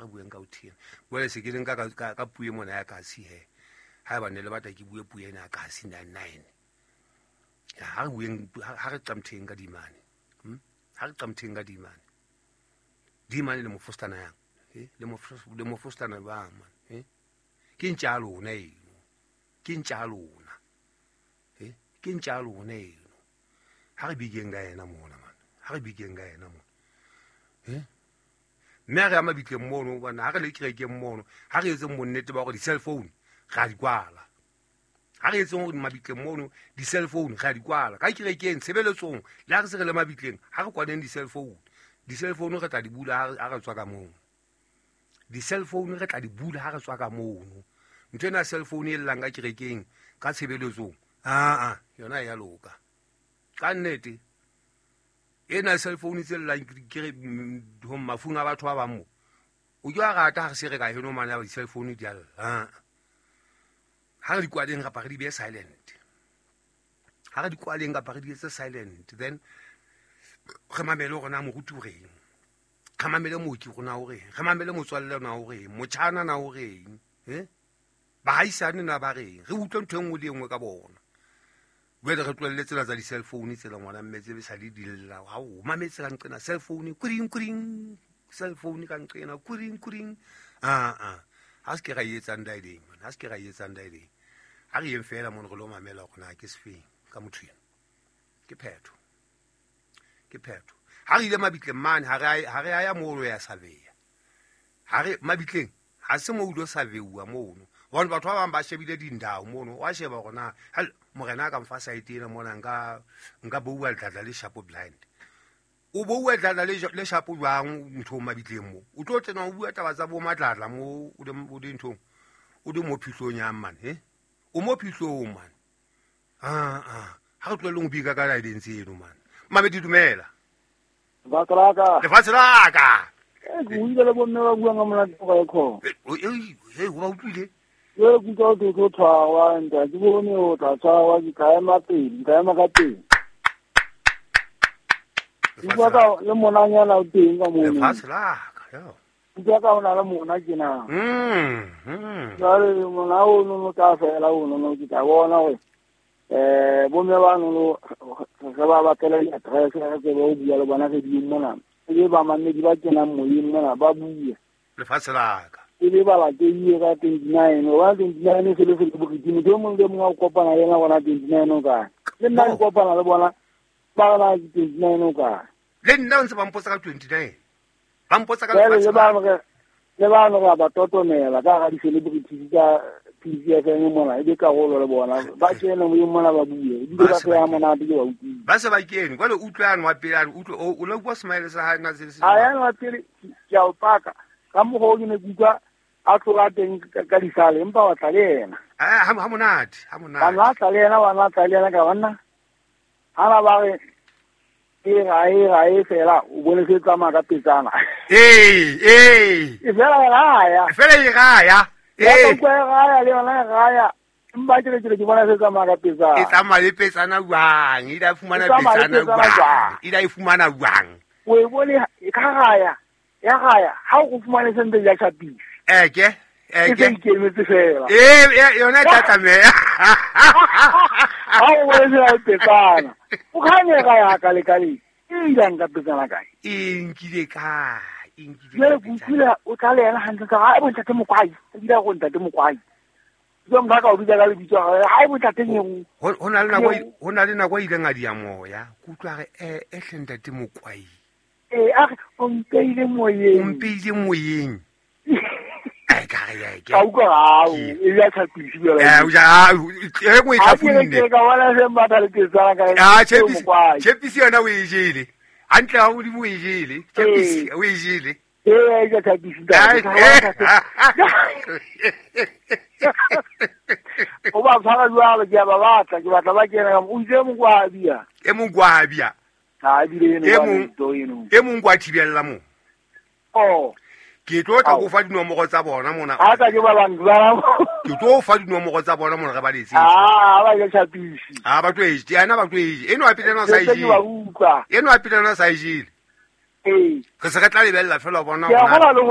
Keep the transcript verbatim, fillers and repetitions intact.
Ha re bueng ka ho thiena. Jwale se ke le nka ka ka puo mona ya kasi he. Ha ba ne le batla ke bue puo ena ya kasi nine nine. Ha re bueng ha re qamtheng ka dimane. Hm? Ha re qamtheng ka dimane. Dimane le mofostana yang. Eh? Le mofostana le mofostana ba man. Eh? Ke ntja lona eno. Ke ntja lona. Eh? Ke ntja lona eno. Ha re bigeng ka yena mona man. Ha re bigeng ka yena mona. Eh? Mme re ya mabitleng mono bana ha re le kerekeng mono ha re etseng bonnete ba hore di-cell phone ra di kwala. Ha re etseng hore mabitleng mono di-cell phone ra di kwala. Ka kerekeng tshebeletsong le ha re se re le mabitleng ha re kwaneng di-cell phone. Di-cell phone re tla di bula ha re tswa ka mono. Di-cell phone re tla di bula ha re tswa ka mono. Ntho ena cell phone e llang ka kerekeng ka tshebeletsong a a yona ya loka. Ka nnete ena cell phone tse llang ke ho mafung a batho ba bang mo. O ke wa rata ha re se re ka heno mane ya di-cell phone di a lla. Ha re di kwaleng kapa re di behe silent. Ha re di kwaleng kapa re di etse silent then re mamele hore na moruti o reng. Re mamele mooki rona o reng. Re mamele motswalle na o reng. Motjhana na o reng. Eh? Bahaisane na ba reng. Re utlwe ntho e nngwe le e nngwe ka bona. Jwale re tlohelle tsena tsa di-cell phone tsela ngwana mme tse sa le di lla. Ha o mametse ka nqena cell phone kuring kuring. Cell phone ka nqena kuring kuring. Ah ah. Ha se ke ra etsang daedeng man. Ha se ke ra etsang daedeng. Ha re yeng fela mono re lo mamela hore na ke sefeng ka motho ena. Ke phetho. Ke phetho. Ha re ile mabitleng mane ha re ha re ya moo ya survey. Ha re mabitleng ha se mo ulo survey-uwa mono. Hobane batho ba bang ba shebile dindao mono. Wa sheba hore na morena ka mfa site ena mona nka nka bua dladla le shapo blind. O bua dladla le le shapo jwang ntho mabitleng mo. O tlo tsena o bua taba tsa bo madladla mo o le o di nthong. O di mo phihlong ya man he. O mo phihlong man. Ah ah. Ha re tlohelleng ho bika ka laedeng tseno man. Mamedi dumela. Lefatshe la ka. Lefatshe la ka. Eh ke utlwile le bomme ba buang ka monate ka ekho. Eh eh o ba utlwile. Ke kutlwa ho tlo tshwarwa ntate ke bone o tla tshwarwa ke ka ema pele ka ema ka teng. Ke ka le monanyana o teng ka mono. Lefatshe la ka yo. Ke ka ona le mona ke na. Mm. Mm. Jwale mona o no ka fela o no ke tla bona hore eh bomme ba no re ba batlela di-address re tsebe ho bua le bona re di mona. E ba mamedi ba kenang moyeng mona ba bue. Lefatshe la ka. E be ba latehile ka twenty-nine wa twenty-nine se le se le bokidimo ke mong le mong a kopana le yena bona twenty-nine o kae. Le nna ke kopana le bona ba na ke twenty-nine o kae. Le nna ntse ba mpotsa ka twenty-nine. Ba mpotsa ka lefatshe. Le ba le ba no ba totomela ka ga di-celebrities tsa P C F M mona e be karolo le bona ba kene moyeng mona ba bue ebile ba tla monate ke ba utlwile. Ba se ba kene jwale utlwane wa pele utlwe o lo bua smile sa hae na se se. A yana wa pele ke a o paka ka mokgwa o ke ne ke utlwa a tlola teng ka disale empa wa tla le yena. Ah ha monate ha monate. Ba tla le yena wa tla le yena ka banna. Ha ba ba re e ga e ga e fela o bone se tsamaya ka petsana. Eh eh. E fela ga ya. Fela e ga ya. Eh. Ka ga ya le yona ga ya. Empa ke ke ke bona se tsamaya ka petsana. E tsamaya le petsana jwang? E da fumana petsana jwang? E da e fumana jwang? O e bone e ka ga ya. Ya ga ya ha o fumane sente ya chapisi. Eh ke eh ke ke ikemetse fela. Eh yona e tla tlameha. Ha o bone se petsana. O khanye ga ya ka le ka le. E ilang ka petsana kae? E nkile kae? E nkile. Ke utlwile o tla le yena hantle ka ha e bontate Mokwai. E bile go ntate Mokwai. Ke motho ka o bitsa ka lebitso ha e bontate nyeo. Ho na le nako ho na le nako e ileng a di ya moya. Ke utlwa re eh e hle ntate Mokwai. Eh a re o mpeile moyeng. O mpeile moyeng. Ai ka re ya ke. Ka utlwa ha o e ya tshapisi jwale. Eh o ja e nngwe e tlhafunne. Ke ka bona se mbatha le petsana ka. Ah tshepisi tshepisi yona o e jele. Hantle ha o di o e jele. Tshepisi o e jele. Eh ya tshepisi da. O ba tshwara jwalo ke a ba batla ke batla ba kena o itse Mokwabia. E Mokwabia. Ha bile eno e mong e mong kwa thibella mo. Oh. Ke tlo tla go fa dinomoro tsa bona mona. Ha ka ke ba bang ba. Ke tlo fa dinomoro tsa bona mona re ba letse. Ah ba ke tshapisi. Ah ba tlo e je, ana ba tlo e je. Eno a pele na sa e je. Ke ba utlwa. Eno a pele na sa e jele. Ee. Re se re tla lebella fela bona. Ke a gola le